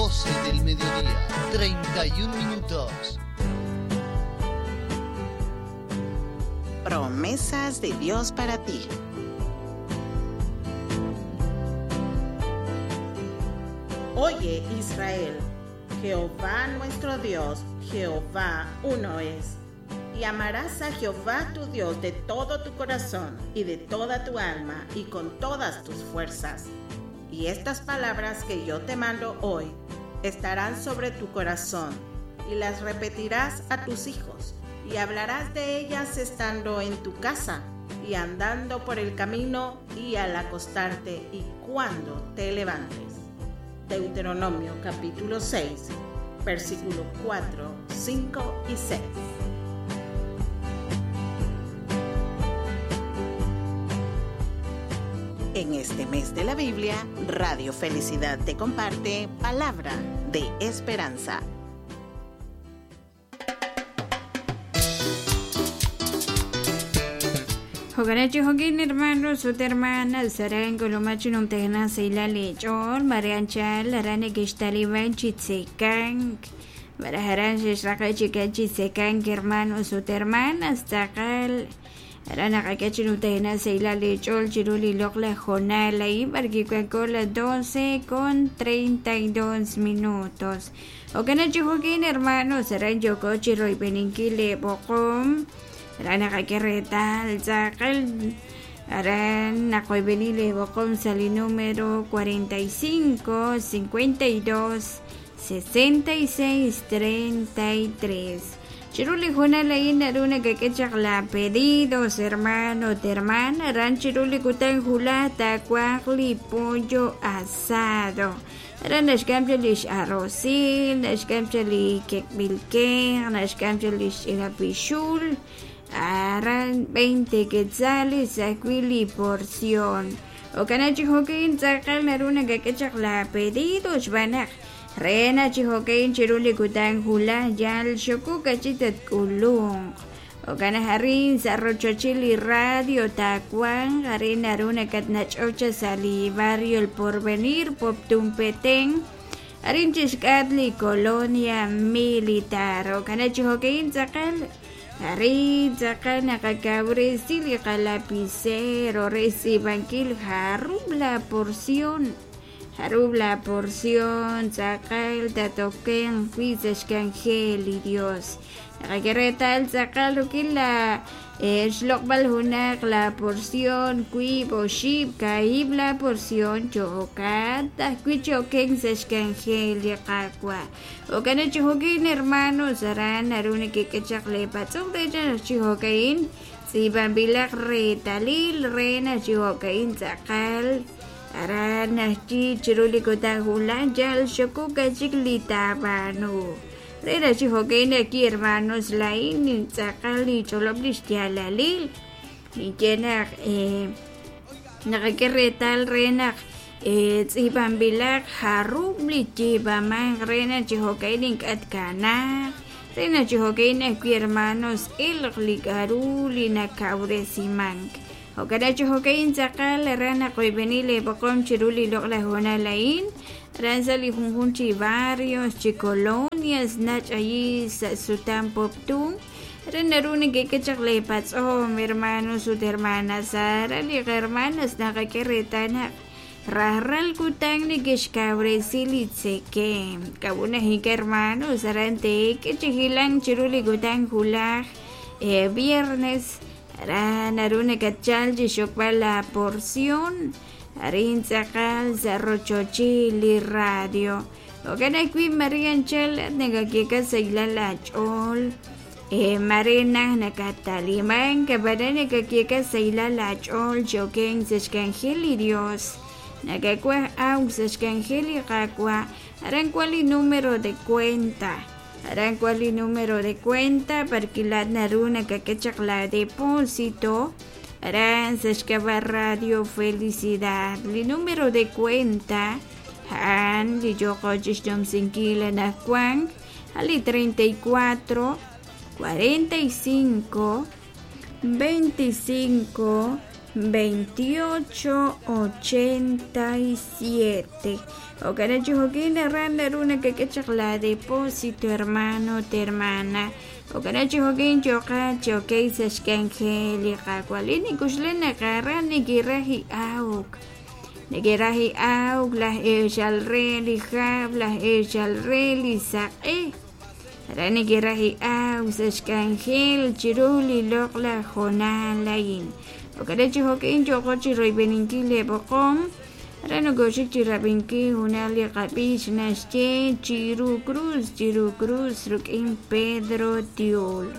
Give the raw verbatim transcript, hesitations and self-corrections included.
doce del mediodía, treinta y un minutos. Promesas de Dios para ti. Oye, Israel, Jehová nuestro Dios, Jehová uno es. Y amarás a Jehová tu Dios de todo tu corazón y de toda tu alma y con todas tus fuerzas. Y estas palabras que yo te mando hoy estarán sobre tu corazón y las repetirás a tus hijos y hablarás de ellas estando en tu casa y andando por el camino y al acostarte y cuando te levantes. Deuteronomio capítulo seis, versículo cuatro, cinco y seis. En este mes de la Biblia, Radio Felicidad te comparte Palabra de Esperanza. Joganachi jogin hermanos, ut hermanas, saran kolomachi numtehna seila lechon, marianchal, arane kishtaliban chitsekank, barajaran shishraqa chikachitsekank, hermanos, ut hermanas, takal, arana kakachi numtehna seila lechol, chiruli lokla jonala y barquicuacola doce con treinta y dos minutos. Joganachi jogin hermanos, saran yokochi roibeninkile bokom. Arana kakeretal, tzakal, arana koibenile bokom sali número cuarenta y cinco, cincuenta y dos, sesenta y seis, treinta y tres. Chiruli jonala naruna kakechak la pedidos, hermano, hermana, ran chiruli kutan julata, cuajli, pollo asado. Aran naxkamchalish arrocil, naxkamchali kekbilken, naxkamchalish irapixul. Aran veinte quetzales acuili porción. O canachi joquín tzakal naruna kakechak la pedidos banaj. Rena chijoquín chiruli kutan jula yal xokuka chitat kulung. O canajarín sarrochochili radio tacuán. Harin naruna katnachocha sali barrio El Porvenir Poptumpetén. Harin chishkatli colonia militar. O canachi joquín tzakal. Ari tzakal nakakabresili kalapicero recibanquil jarub la porción. Jarub la porción tzakal tatoken huizashkangel y Dios. Nakakeretal tzakal ukila xlokbal hunak la porción kui boshib kaib la porción chokat kui choken sashkangel yakakwa. Okana chihokin hermanos aran arune kekechak lepatzong recha chihokain tzibambilak retalil rena chihokain tzakal aran chi chiruli kotajulan yal xokuka chiklitabanu. Rena chihokain aquí hermanos lain tzakal y choloblish yalalil y llena eh nakakeretal rena tzibambilak jarubli chibaman rena chihokain katkana rena chihokain aquí hermanos ilqlikaruli nakauresimang okara chihokain tzakal rena koibenile bokom chiruli lokla jonalain ranzali junjunchi barrios chi colonias nach allí sutan poptun renaruni que kechak patzom hermanos ut hermanas arali hermanas nakakeretana Rarral kutan ni kishkabresili tseke. Kabuna hika hermanos arante que chihilan chiruli kutan julaj eh, viernes aran aruna kachal chishokpa la porción arin tzakal zarrochochili radio. Okana kui marianchel negakika seila la chol. Eh, Marina nakataliman kabarane kakieka seila la chol choken sechkangeli Dios. Nakakua au sechkangeli kakua. Aran cuál número de cuenta. Aran cuál número de cuenta parquilat naruna kakechak la depósito. Aran sechkaba Radio Felicidad. Li número de cuenta. Han li yokochish sinkila nakuang. Ali treinta y cuatro cuarenta y cinco veinticinco veintiocho ochenta y siete. Okana chijokin ran naruna que la depósito hermano te hermana. Okana chijokin choka choque sashkangeli kakwalini kushlena karani kiraji auk. Nekiraji auk las echalreli jab las echalreli saqe. Rani kiraji auk sashkangel chiruli lokla jonalain. Okana chijokin chokochi roibeninkile bokom. Rano goshik chirabinki hunali qabish nashche Chiru Cruz, Chiru Cruz, Rukin Pedro Tiol.